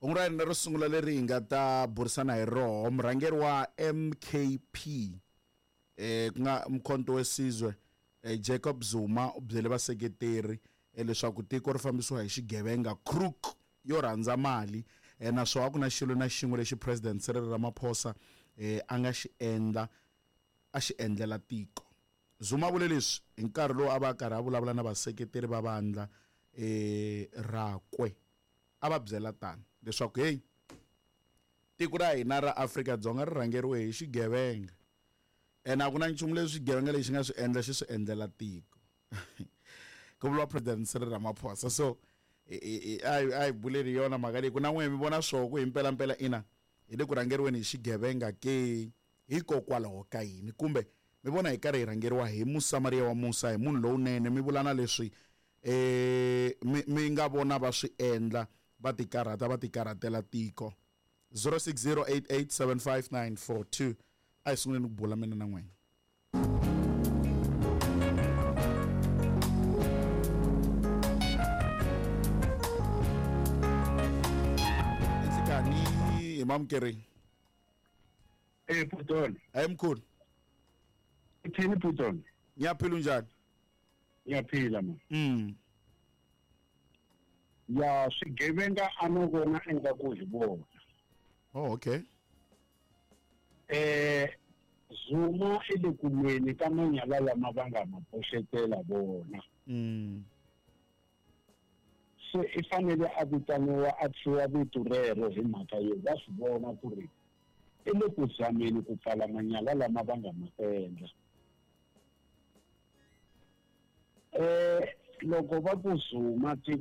Hungu ra hina ro sungula leri hi nga ta burisana hi roho murhangeri wa MKP ku nga Mkhonto Wesizwe Jacob Zuma u byele vaseketeri leswaku tiko ri fambisiwa hi xigevenga crook yo rhandza mali naswona a ku na xilo na xin'we lexi President Cyril Ramaphosa a nga xi endla a xi endlela tiko. Zuma vule leswi hi nkarhi lowu a va karhi a vulavula na vaseketeri va vandla rakwe. A va byela tani leswaku hey, tiko ra hina ra Afrika-Dzonga ri rhangeriwe hi xigevenga ene a ku na nchumu leswi xigevenga lexi nga swi endla xi swi endlela tiko. Ku vuriwa President Cyril Ramaphosa. So a hi buleni yona mhaka leyi ku na n'we mi vona swoho ku hi mpelampela ina hi le ku rhangeriweni hi xigevenga ke hikokwalaho ka yini, kumbe mi vona hi karhi hi rhangeriwa hi Musamariya wa musa, hi munhu lowunene, mi vula na leswi mi nga vona va swi endla, va tikarhata, va tikarhatela tiko. 0608875942 a hi sunguleni ku bula mina na n'wina. Nhlikani hi mamukeri. Putoni. Hayi mkhulu. Uthini Putoni? Ngiyaphila, unjani? Ngiyaphila ma. Ya swigevenga a no vona ingaku hi vona. Oh, okay. Zuma i le ku lweni ka manyala lama va nga ma boxetela vona. Se i fanele a vitaniwa a thyiwa vito rero hi mhaka yo va swi vona ku ri i le ku zameni ku pfala manyala lama va nga ma endla. Loko va ku Zuma